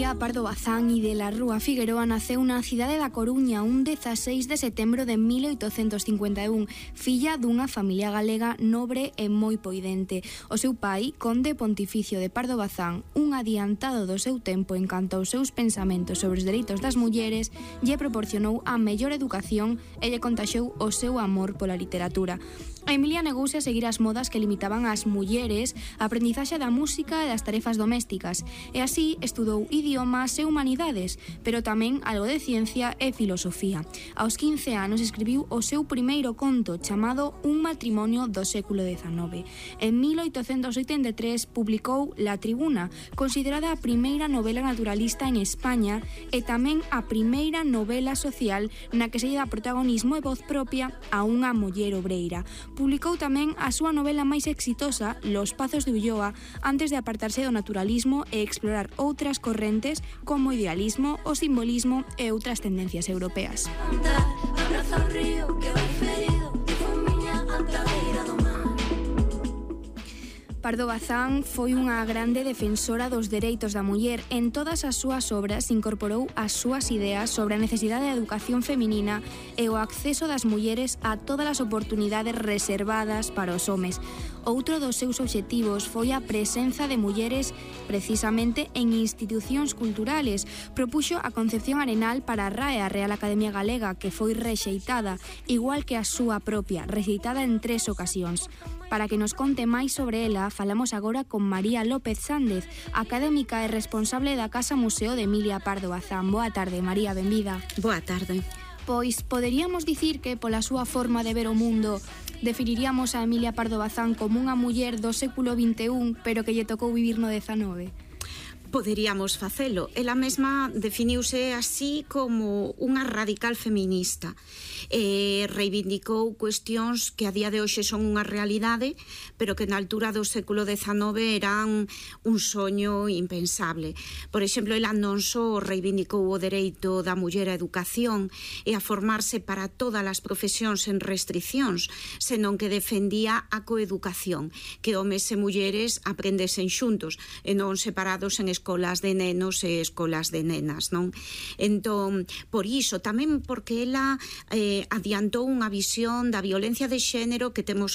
Emilia Pardo Bazán e de la Rúa Figueroa naceu na cidade da Coruña un 16 de setembro de 1851, filla dunha familia galega nobre e moi poidente. O seu pai, conde pontificio de Pardo Bazán, un adiantado do seu tempo en canto aos seus pensamentos sobre os dereitos das mulleres, lle proporcionou a mellor educación e lle contaxou o seu amor pola literatura. A Emilia negouse a seguir as modas que limitaban ás mulleres a aprendizaxe da música e das tarefas domésticas, e así estudou idiomas e humanidades, pero tamén algo de ciencia e filosofía. Aos 15 anos escribiu o seu primeiro conto chamado Un matrimonio do século XIX. En 1883 publicou La Tribuna, considerada a primeira novela naturalista en España e tamén a primeira novela social na que se lle dá protagonismo e voz propia a unha muller obreira. Publicou tamén a súa novela máis exitosa, Los Pazos de Ulloa, antes de apartarse do naturalismo e explorar outras correntes como o idealismo, o simbolismo e outras tendencias europeas. Pardo Bazán foi unha grande defensora dos dereitos da muller. En todas as súas obras incorporou as súas ideas sobre a necesidade da educación feminina e o acceso das mulleres a todas as oportunidades reservadas para os homes. Outro dos seus obxectivos foi a presenza de mulleres precisamente en institucións culturales. Propuxo a Concepción Arenal para a RAE, a Real Academia Galega, que foi rexeitada, igual que a súa propia, rexeitada en 3 ocasións. Para que nos conte máis sobre ela, falamos agora con María López Sández, académica e responsable da Casa Museo de Emilia Pardo Bazán. Boa tarde, María, benvida. Boa tarde. Pois poderíamos dicir que pola súa forma de ver o mundo definiríamos a Emilia Pardo Bazán como unha muller do século XXI, pero que lle tocou vivir no XIX. Poderíamos facelo. Ela mesma definiuse así como unha radical feminista. Reivindicou cuestións que a día de hoxe son unha realidade, pero que na altura do século XIX eran un soño impensable. Por exemplo, ela non só reivindicou o dereito da muller á educación e a formarse para todas as profesións sen restriccións, senón que defendía a coeducación, que homes e mulleres aprendesen xuntos e non separados en escolas de nenos e escolas de nenas, non? Entón, por iso, tamén porque ela adiantou unha visión da violencia de xénero que temos